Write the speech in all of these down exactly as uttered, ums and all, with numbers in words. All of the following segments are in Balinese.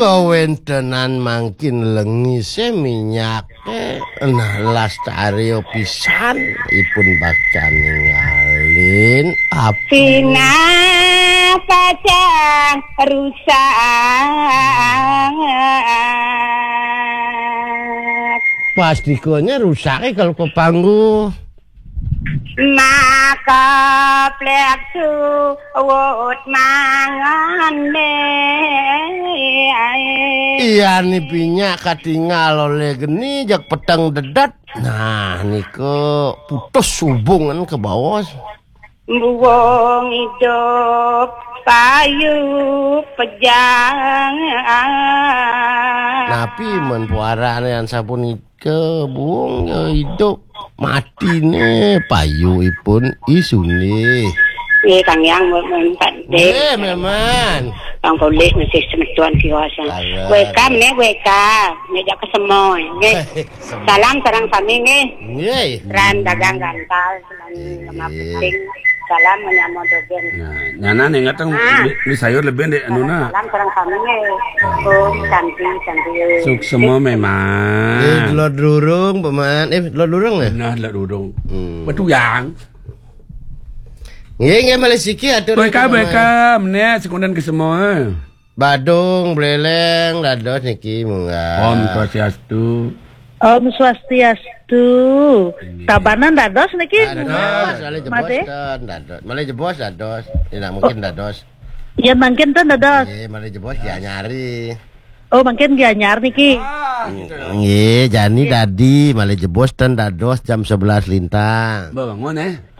Kawentenan mangkin lengise minyake, nah, lastari pisan ipun bakal ningalin api. Sinah pacang rusak. Pastikanya rusake kalau kepanggu. Maka plek suwut mangan deh. Iya, ni pinyak katingal oleh geni, jak peteng dedet. Nah, niku putus hubungan ke bawah. Buwung idup payu pejang. Napi men puarane an sapunika, buwung ya idup, matine payu ipun isune. Nggih, Kang Yang, mun, mun Pak Dek. Nggih, memang. Bang Polih masih semetuan kiwasan. Salah. Weka, meneh weka, ngejak ke semoy, nggih. Salam sareng sami, nggih. Nggih. Ran dagang gantal, semen lemah putih. Salam menyambut dogen. Nah, nyana nih ngateng. Ah. Beli, beli sayur lebih dek, anu, nah. Salam sareng sami, nggih. Oh, cantik, cantik. Suksema memang. Eh, telur durung, Paman. Eh, telur durung, ya? Nah, telur durung. Hmm. Betul, Yang. Nggih, nggih, malih siki atur. Weka, weka, meneh sekundan ke semua. Badung, Buleleng, dados niki munggah. Om Swastiastu. Om Swastiastu. Inggih. Tabanan dados niki. Dados, munggah, malih jebos Made. Ten, dados. Malih jebos dados. Ini mungkin dados. Ya, mungkin ten dados. Nggih, malih jebos ya nyari. Oh, mungkin dia nyar niki. Ah, gitu. Nggih, jani dadi malih jebos ten dados jam sebelas lintang. Mbak bangun, eh.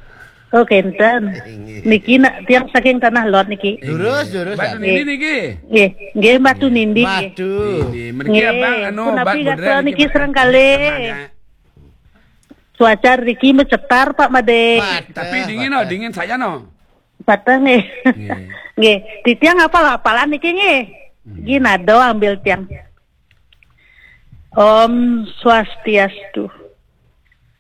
Oh, kenten. Nggih. Niki nak tiang saking Tanah Lot niki. Durus, durus, Batu Batu. Nindi niki. Nggih, nggih, Batu Nindi, nggih. Batu. Nindi. Mriki nggih, abang anu, punapi bat gatra bodrel niki niki, sareng Batu. Kalih. Cuaca niki mecetar, Pak Made. Batu. Tapi dingin, oh, dingin saja, no. Patah, nggih. Nggih. Nggih, titiang apal-apalan niki, nggih. Hmm. Nggih, nado ambil tiang. Om Swastiastu.